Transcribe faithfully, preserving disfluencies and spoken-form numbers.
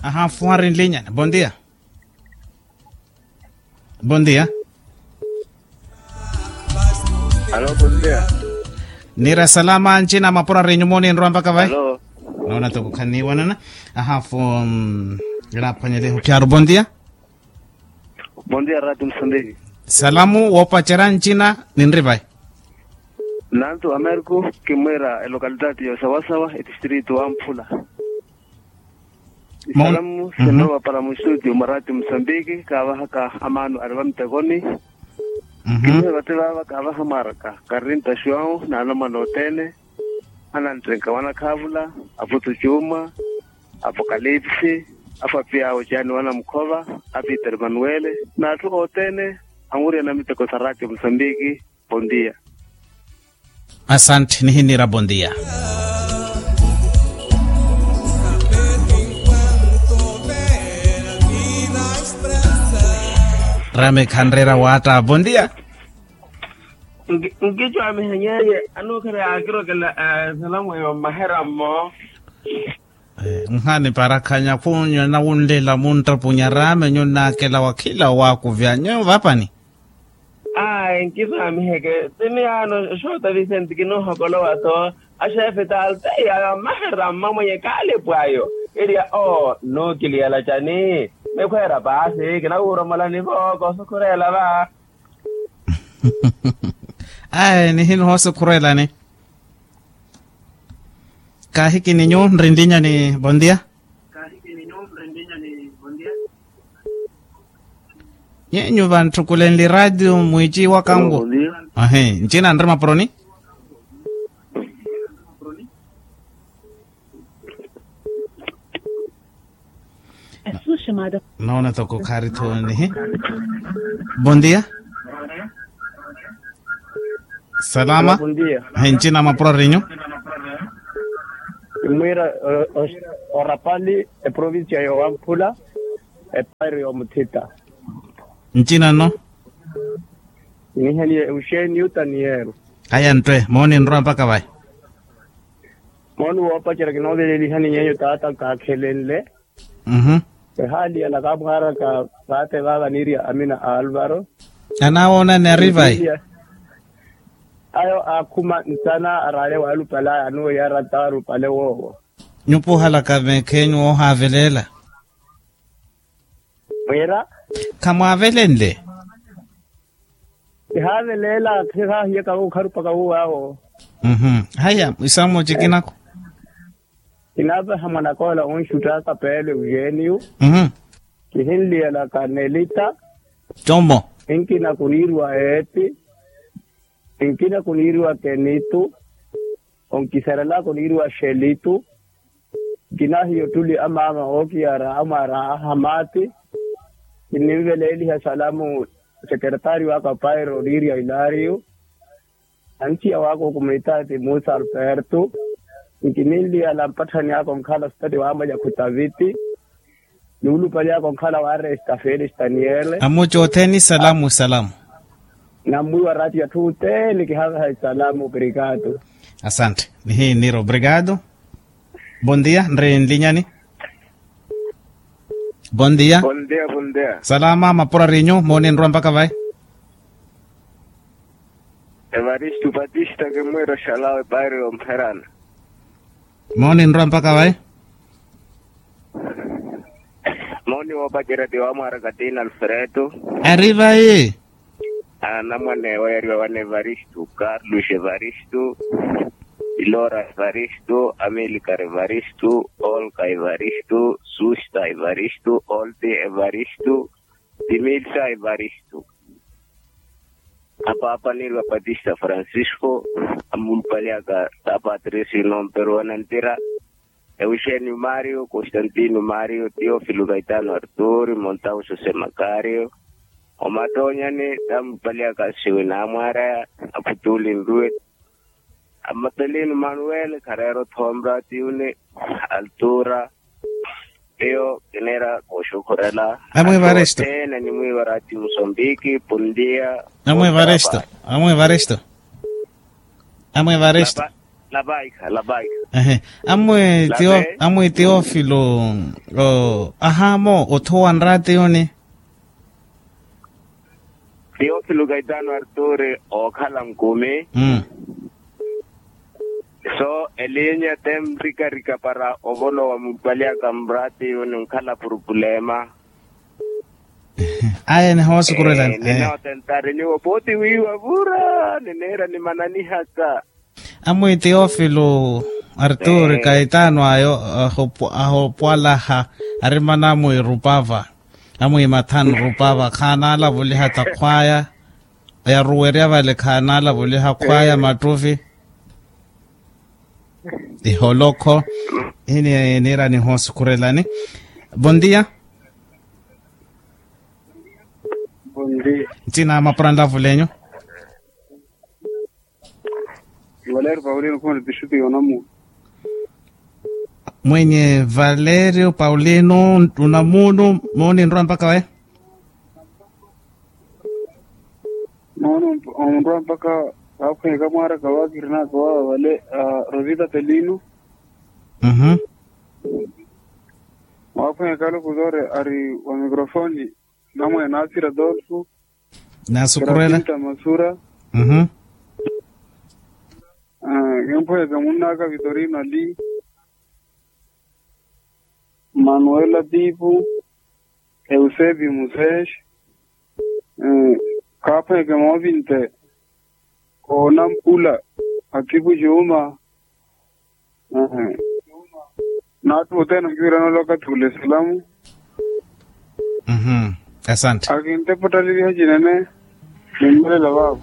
Ahafuha rinlinyani bondia. Bondia. Alo bondia. Nira salama ncina mapura rinyumoni nrwa mpaka vai. Noona toko khaniwanana. Ahafu. Iraphwanyeleho pyaru bondia. Bondia rati msambiki. Salamu woopacera ncina ninri vai. Nantu ameriku kimwira elokalitati ya osawasawa etistritu wa mphula. Isalamu sinrowa para mustudio mwa rati msambiki kaavahaka amaanu ari vamtekoni. Kimwira vate vaava kaavaha mwaraka karinta xuwau na anamwana othene. Ananttenka wanakhaavula, aputu cuuma, apokalipsi, afapiya ocani wanamukhova, apiteri manuwele, n'atthu othene anwiriyana miteko sa rati msambiki. Bondia. Asante nihinira bondia. Rame khanrera wata bondia. Nkicwamiha nyeye anukhereya akirokela esalamu eyo mmaherammo. Nhani parakhanya khunyo nawunlela munttapunya rame nyo nnakela wakhila owakuvya nyo vapani. Ayi nkiswamiheke tini yaano xoota visenti kinoohokolowa-tho. Axefe talteyi ayo ammaherammo mwenye kaalipu ayo. Iriya oo nnuukiliyela cani? Nikhweera paasi kinawuromolani-vo koosukhurela va. Ayi nihinuhosukhurelani. Kaahikini nyu nrinlinyani bondia. Nyenyu vanttukulenli ratio mwiiciwaka nwo. Ahi ncina nri mapuroni. Noona toko khaari-tho nihi. Bondia. Salama. Encina mapuro arinyu. Imwira orapali eprovincia yowamphula. Epairo yomuthita. Ncina no. Niheniye euxenio taniero. Aya nttwe mooni nrowa mpaka vayi. Mooni woopacerya kinoovelelihani nyenyu taata nkaakhelenle. Ehaali ya nakaamwaraka vaate vaava niiriya amina a alvaro. Anaawoonani ari vayi. Ayo aakhuma nsana araale waalupale aya anuweya arata alupale woowo. Nyupa ohalaka meekhenyu woohaaveleela. Mwiira. Khamwaavelenle. Kihaaveleela khihaahiyaka okharupaka wuwaawo. Haya isamu cikinako. Kinaapaha mwanakoola onxuttaka peelo euxenio. Kihinliyelaka nelita. Como. Nkina kuniiriwa eeti. Nkina kuniiriwa kenitu. Onkisarelaka oniiriwa xelitu. Nkinahiya ottuli amaama ookiyara amwaara ahamati. Kininveleeliha salamu sekeretario aka pairo oniiriya ilario. Antiya waka okumwitaati musa alberto. Nkininliyala mpatthani aka onkhala stati wamwalya khutaviti. Nuulupali aka onkhala wa resta felix daniele. Amuca othene isalamu isalamu. Nammwiwa rati atthu othene kihaveha isalamu obrigado. Asante nihiinira obrigado. Bondia nri nlinyani. Bondia. Bondia bondia. Salama mapura arinyu mooni nrowa mpaka vayi. Evaristu patista kimwira oxalawe pairo yompherana. Mooni nrowa mpaka vayi. Mooni woopacerya ti wamwaara katina alfredo. Ari vayi. Anamwane ewo yariwa wana evaristu carlos evaristu. Ilora evaristu amilcar evaristu olga evaristu susta evaristu olti evaristu. Timilsa evaristu. Apaapa niiriwa patista francisco. Amulupali aka ta patricio nomperu wanantira. Euxenio mario constantino mario teofilo caetano arturi montauso semakario. Omattoonyani tammupali aka siwina amwaaraya. Aphutuli nruwe. Amatelino manuel khareera othomra tiuni. Altura. Eyo kiniira kooxukhurela. Amwivaristo. Othene animwiivara ati musambiki pundia. Amwivaristo. Amwivaristo. Amwivaristo. Lapaikha lapaikha. Ehe. Amwi Teo- amwi teofilo, ahaamo othowa nraatiyoni. Teofilo kaitano arturi ookhala nkumi. So elinya te mrikarika para ovolowa mupalyaka mraatiyoni nkhala purupulema. Aya nihoosukurela. Ninootentari niwo pooti wiiwa vura nineera nimananihaka. Amwi teofilo arturi kaitano ayo ahopwalaha arimana amwi rupava amwi mathanu rupava khaanaalavuliha takhwaya. Yaruwerya vale khaanaalavuliha khwaya mattuvi. Iholokho. Hini niira nihoosukhurelani. Bondia. Bondia. Nthina mapura nlavulenyu. Valerio paulino khuna district yonamuno. Mwenye valerio paulino unamuno. Mooni nrwa mpaka we. Mooni onrwa mpaka. Waakhwenyeka mwaaraka waakirinaka wawa vale. Rosita pelino. Waakhwenyeka lokuzore ari wa microfoni. Namwene nasira dolfo. Nasukurela. Masura. Kempweka munnaka vitorino ali. Manuela pipu. Eusebi musesh. Kaphweke moovinte. Koonampula. Akipu juma. Naattu othene onkiwirana olwaka thule salamu. Asante. Akintepa ottaleliha cinene. Nimmelela vaavo.